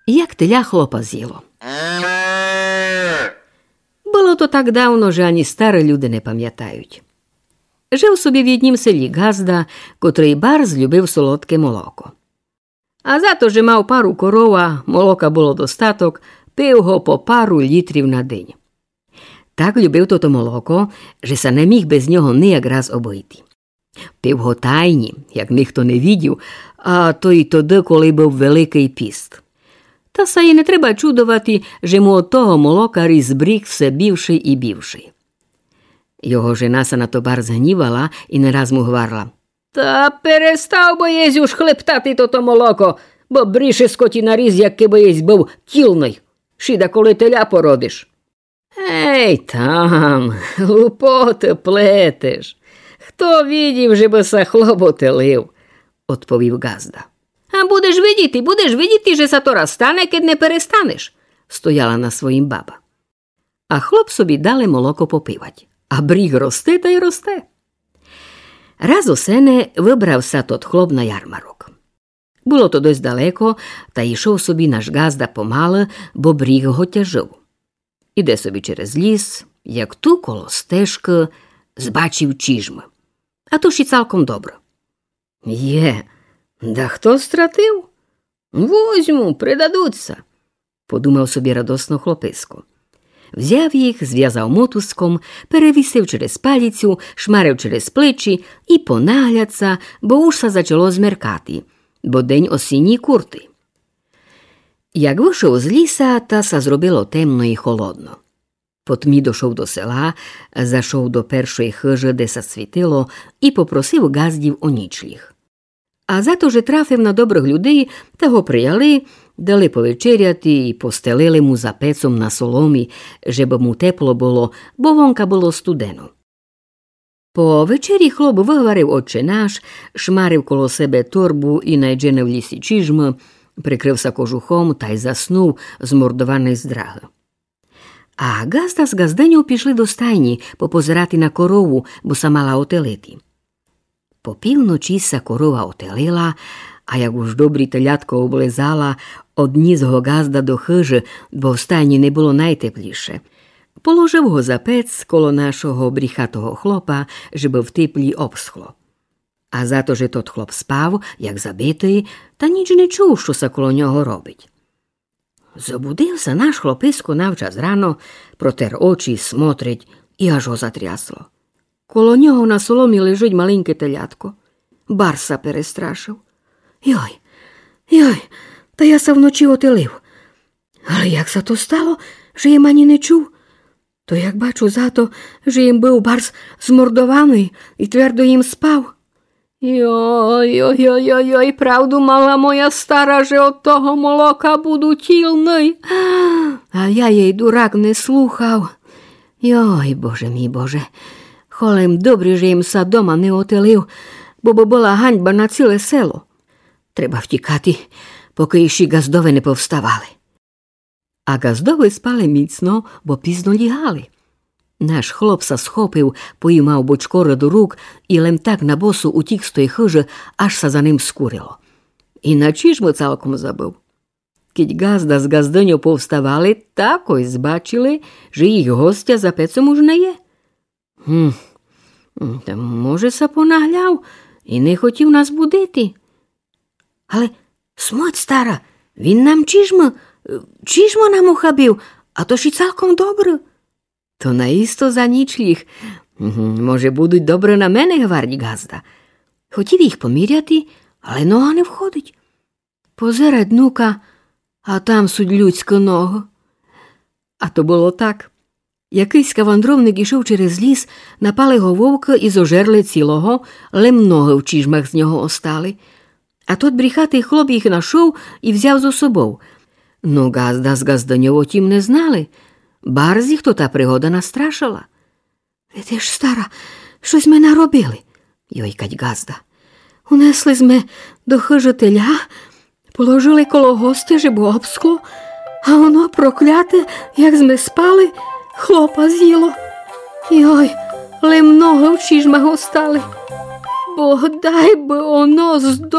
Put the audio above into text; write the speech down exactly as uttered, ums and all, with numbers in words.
Як теля хлопа зїло. Было то так давно, же ані стары люде не памятають. Жыв собі в єднім селі ґазда, котрый барз любив солодке молоко. А за то, же мав пару коров, а молока было достаток, пив го по пару літрів на день. Так любив тото молоко, же ся не міг без нього нияк раз обыйти. Пив го тайні, як нихто не видів, а то й тогды, коли быв Великый піст. Та ся й не треба чудовати, же му од того молока ріс бріг все бівшый і бівшый. Його жена ся на то барз гнівала і не раз му гварла: Та перестав бы єсь уж хлептати тото молоко, бо бріши скотіна ріс, як кибы єсь быв тілный. Шіда, коли теля породиш. Ей, там, глупоты плетеш. Хто видів, же бы ся хлоп отелив? Одповів ґазда. А будеш видіти, будеш видіти, же ся то раз стане, кед не перестанеш, стояла на своїм баба. А хлоп собі дале молоко попивать. А бріг росте тай росте. Раз осени выбрав ся тот хлоп на ярмарок. Было то досьт далеко, та йшов собі наш ґазда помалы, бо бріг го тяжыв. Іде собі через ліс, як ту коло стежкы збачив чіжмы. А то ж і цалком добры. Є, да хто стратив? Возьму, придадуть ся, подумав собі радосно хлописько. Взяв їх, звязав мотузком, перевісив через паліцю, шмарив через плечі і понагляд ся, бо уж ся зачало змеркати, бо день осінній куртый. Як вышов з ліса, та ся зробило темно і холодно. По тмі дошов до села, зашов до першої хыжы, де ся світило, і попросив ґаздів о нічліг. А за то, же трафив на добрых людей, та го прияли, дали повечеряти і постелили му за пецом на соломі, жебы му тепло было, бо вонка было студено. По вечері хлоп выгварив Отче наш, шмарив коло себе торбу і найдзене в лісі чіжмы, прикрыв ся кожухом тай заснув, змордованый з драгы. А ґазда з ґаздыньов пішли до стайні попозирати на корову, бо ся мала отелити. По півночи ся корова отелила, а як уж добрі телятко облизала, одніс го ґазда до хыжы, бо в стайні не было найтепліше. Положив го за пец коло нашого бріхатого хлопа, жебы в теплі обсхло. А за то, же тот хлоп спав, як забитый, та ніч не чув, што ся коло нього робить. Зобудив ся наш хлописько навчас рано, протер очі, смотрить, і аж го затрясло. Коло нього на соломі лежить маленьке телятко. Барз ся перестрашив. Йой, йой, та я ся вночи отелив. Але як ся то стало, же єм ані не чув? То як бачу за то, же єм быв барз змордованый і твердо єм спав. Йой, йой, йой, йой, йой, правду мала моя стара, же од того молока буду тілный. А я єй, дурак, не слухав. Йой, Боже мій, Боже. Холем добрі, же єм ся дома не отелив, бо бы была ганьба на ціле село. Треба втікати, покы іщи ґаздове не повставали. А ґаздове спали міцно, бо пізно лігали. Наш хлоп ся схопив, поїмав бочкоры до рук і лем так на босу утік з той хыжы, аж ся за ним скурило. І на чіжмы цалком забыв. Кідь ґазда з ґаздыньов повставали, так ой збачили, же їх гостя за пецом уж не є. Гм, та може ся понагляв і не хотів нас будити. Але смуть, стара, він нам чіжмы, е, чіжмы нам ухабив, а то ж і цалком добры. То наісто за нічліг. Гм, може, будуть добры на мене, гварить ґазда. Хотів їх поміряти, але нога не входить. Позирать нука, а там суть людськы ногы. А то было так. Якыйсь вандровник ішов через ліс, напали го вовкы і зожерли цілого, лем ногы в чіжмах з нього остали. А тот бріхатый хлоп їх нашов і взяв зо собов. Но ґазда з ґаздыньов о тім не знали. Барз їх тота пригода настрашыла. Видиш, стара, што сьме наробили, йойкать ґазда. Унесли сьме до хыжы теля, положили коло гостя, жебы обсхло, а оно прокляте, як сьме спали, хлопа зїло. Йой, лем ногы в чіжмах остали. Бог дай бы оно здохло.